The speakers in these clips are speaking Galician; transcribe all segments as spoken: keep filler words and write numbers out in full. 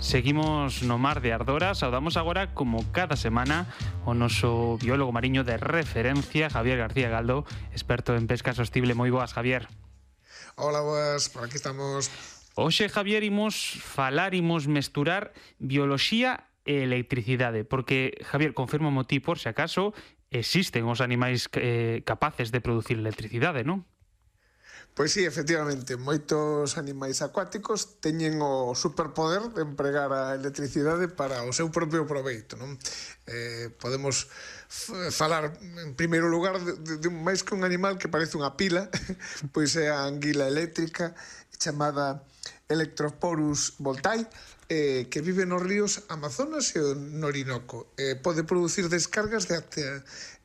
Seguimos no Mar de Ardora. Saudamos agora, como cada semana, o noso biólogo mariño de referencia, Javier García Galdo, experto en pesca sostible. Moi boas, Javier. Hola, boas, por aquí estamos. Hoxe, Javier, imos falar, imos mesturar bioloxía e electricidade, porque, Javier, confirma-mo ti, por se acaso, existen os animais eh, capaces de producir electricidade, non? Pois sí, efectivamente, moitos animais acuáticos teñen o superpoder de empregar a electricidade para o seu propio proveito, non? Eh, podemos falar, en primeiro lugar, de, de, de máis que un animal que parece unha pila, pois é a anguila eléctrica, chamada Electroporus voltae, eh, que vive nos ríos Amazonas e no Orinoco. Eh, pode producir descargas de até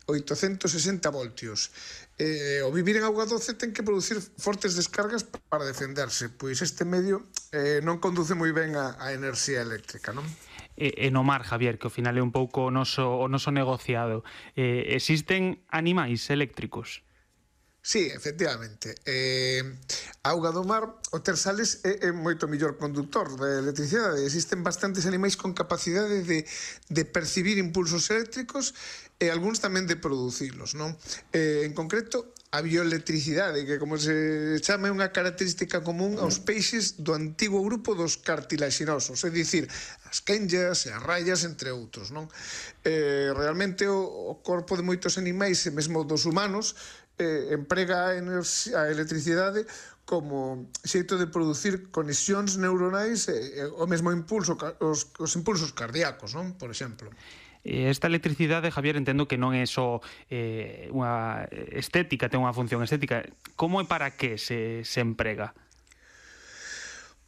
oitocentos sesenta voltios. Eh, o vivir en auga doce ten que producir fortes descargas para defenderse, pois este medio eh, non conduce moi ben a, a enerxía eléctrica, non? E, e no mar, Javier, que ao final é un pouco o noso, o noso negociado, eh, existen animais eléctricos? Sí, efectivamente. Eh, a auga do mar, o ter sales é, é moito mellor conductor de electricidade. Existen bastantes animais con capacidade de, de percibir impulsos eléctricos e algúns tamén de producilos, non? Eh, en concreto, a bioelectricidade, que como se chama é unha característica común aos peixes do antigo grupo dos cartilaxinosos, é dicir, as quenllas e as raias, entre outros, non? Eh, realmente o, o corpo de moitos animais e mesmo dos humanos eh, emprega a, a electricidade como xeito de producir conexións neuronais e, e o mesmo impulso, os, os impulsos cardíacos, non? Por exemplo. Esta electricidade, Javier, entendo que non é só eh, unha estética, ten unha función estética. Como e para que se, se emprega?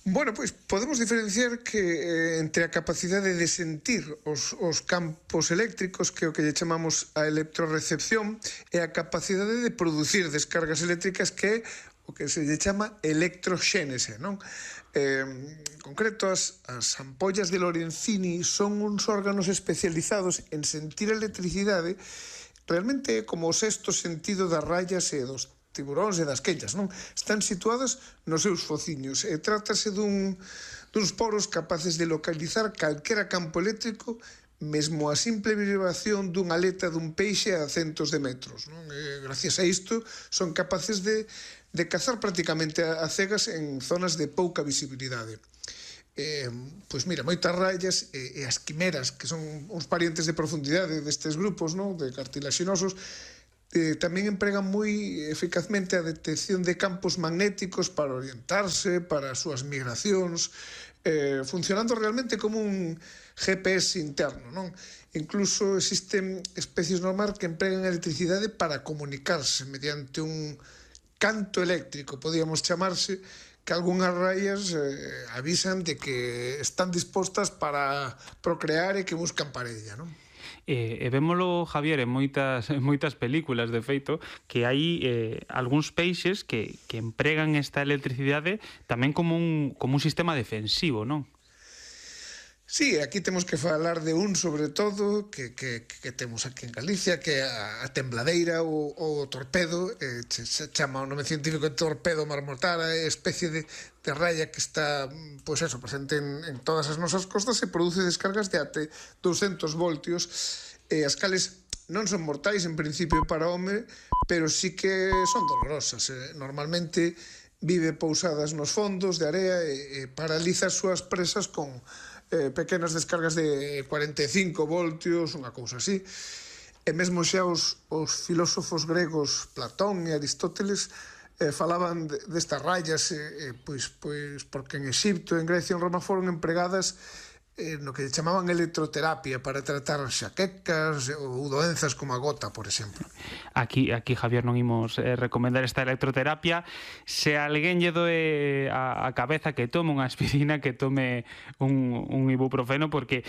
Bueno, pois podemos diferenciar que eh, entre a capacidade de sentir os, os campos eléctricos, que é o que lle chamamos a electrorecepción, e a capacidade de producir descargas eléctricas, que é o que se lle chama electroxénese, non? Eh, en concreto, as, as ampollas de Lorenzini son uns órganos especializados en sentir electricidade. Realmente é como o sexto sentido das raias e dos tiburóns e das quenllas, non? Están situadas nos seus fociños e trátase dun, duns poros capaces de localizar calquera campo eléctrico, mesmo a simple vibración dunha aleta dun peixe a centos de metros, non? E, gracias a isto, son capaces de, de cazar prácticamente a, a cegas en zonas de pouca visibilidade. Eh, pois mira, moitas raias e, e as quimeras, que son uns parientes de profundidade destes grupos, non? De cartilaxinosos, Eh, tamén empregan moi eficazmente a detección de campos magnéticos para orientarse, para as súas migracións, eh, funcionando realmente como un G P S interno, non? Incluso existen especies no mar que empregan a electricidade para comunicarse mediante un canto eléctrico, podíamos chamarse, que algunhas raias eh, avisan de que están dispostas para procrear e que buscan parella, non? E, e vémolo, Javier, en moitas, en moitas películas, de feito, que hai eh, algúns peixes que, que empregan esta electricidade tamén como un, como un sistema defensivo, non? Sí, aquí temos que falar de un, sobre todo, que, que, que temos aquí en Galicia, que é a, a tembladeira ou o torpedo, eh, se, se chama o nome científico de torpedo marmotara, é especie de, de raya que está, pois eso, presente en, en todas as nosas costas e produce descargas de até douscentos voltios, e as cales non son mortais en principio para o home, pero sí que son dolorosas. Eh, normalmente vive pousadas nos fondos de area e, e paraliza as súas presas con eh, pequenas descargas de cuarenta e cinco voltios, unha cousa así. E mesmo xa os, os filósofos gregos Platón e Aristóteles eh, falaban de, destas rayas, eh, eh, pois, pois porque en Exipto, en Grecia e en Roma foron empregadas eh, no que chamaban electroterapia para tratar xaquecas ou doenzas como a gota, por exemplo. Aquí, aquí Javier, non imos eh, recomendar esta electroterapia. Se alguén lle doe a, a cabeza, que tome unha aspirina, que tome un, un ibuprofeno, porque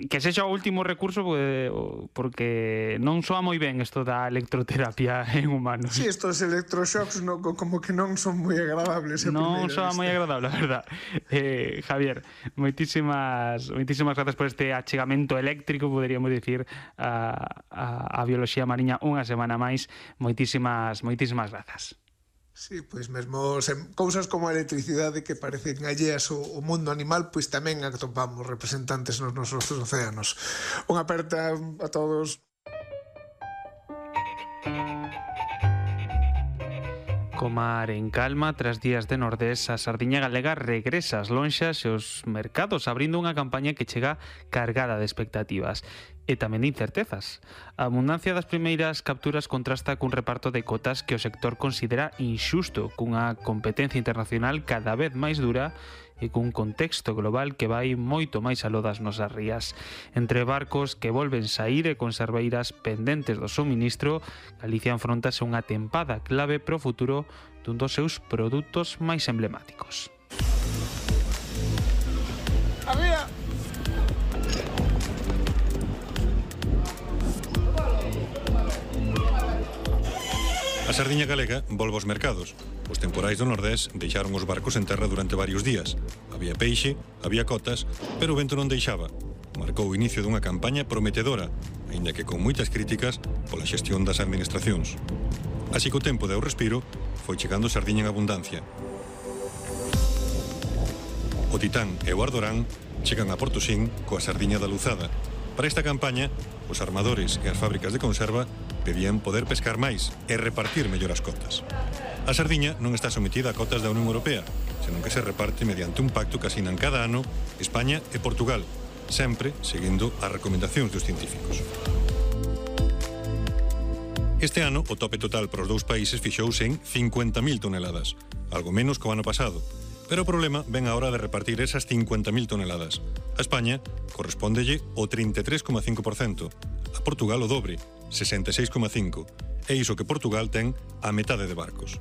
que sexa o último recurso, porque, porque non soa moi ben isto da electroterapia en humanos. Sí, estos electroshocks no, como que non son moi agradables. Non soa moi agradable, a verdad. Eh, Javier, moitísimas moitísimas grazas por este achegamento eléctrico, poderíamos dicir, a, a, a bioloxía mariña unha semana máis. Moitísimas, moitísimas grazas. Sí, pois mesmo sen, cousas como a electricidade que parecen alleas ao, ao mundo animal, pois tamén atopamos representantes nos nosos océanos. Unha aperta a todos. Co mar en calma, tras días de nordés, a sardiña galega regresa ás lonxas e os mercados, abrindo unha campaña que chega cargada de expectativas e tamén de incertezas. A abundancia das primeiras capturas contrasta cun reparto de cotas que o sector considera inxusto, cunha competencia internacional cada vez máis dura e cun contexto global que vai moito máis aló das nosas rías. Entre barcos que volven saír e conserveiras pendentes do suministro, Galicia enfrontase unha tempada clave pro futuro dun dos seus produtos máis emblemáticos. ¡Arriba! A sardiña galega volve aos mercados. Os temporais do Nordés deixaron os barcos en terra durante varios días. Había peixe, había cotas, pero o vento non deixaba. Marcou o inicio dunha campaña prometedora, aínda que con moitas críticas pola xestión das administracións. Así que o tempo deu respiro, foi chegando sardiña en abundancia. O Titán e o Ardorán chegan a Portosín coa sardiña da Luzada. Para esta campaña, os armadores e as fábricas de conserva pedían poder pescar máis e repartir mellor as cotas. A sardiña non está sometida a cotas da Unión Europea, senón que se reparte mediante un pacto que asinan cada ano España e Portugal, sempre seguindo as recomendacións dos científicos. Este ano, o tope total para os dous países fixouse en cincuenta mil toneladas, algo menos que o ano pasado, pero o problema ven a hora de repartir esas cincuenta mil toneladas. A España correspóndelle o trinta e tres coma cinco por cento, a Portugal o dobre, sesenta e seis coma cinco por cento, e iso que Portugal ten a metade de barcos.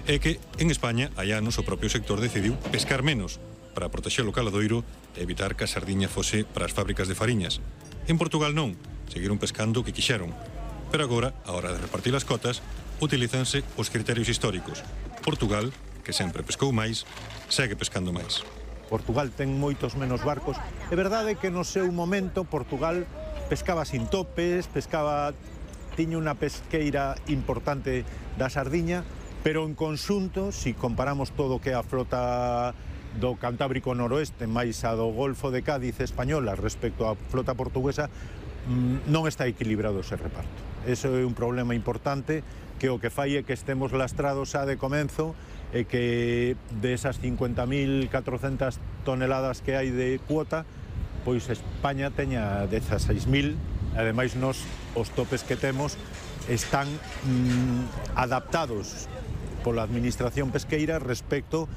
É que en España hai anos o propio sector decidiu pescar menos para protexer o caladoiro e evitar que a sardiña fose para as fábricas de fariñas. En Portugal non, seguiron pescando o que quixeron. Pero agora, a hora de repartir as cotas, utilízanse os criterios históricos. Portugal, que sempre pescou máis, segue pescando máis. Portugal ten moitos menos barcos. É verdade que no seu momento Portugal pescaba sin topes, pescaba, tiña unha pesqueira importante da sardiña, pero en conxunto, se si comparamos todo o que é a flota do Cantábrico Noroeste máis a do Golfo de Cádiz española respecto á flota portuguesa, non está equilibrado ese reparto. Eso é un problema importante que o que fai é que estemos lastrados xa de comenzo e que desas cincuenta mil catrocentas toneladas que hai de cuota, pois España teña dezaseis mil, ademais nos os topes que temos están mm, adaptados pola administración pesqueira respecto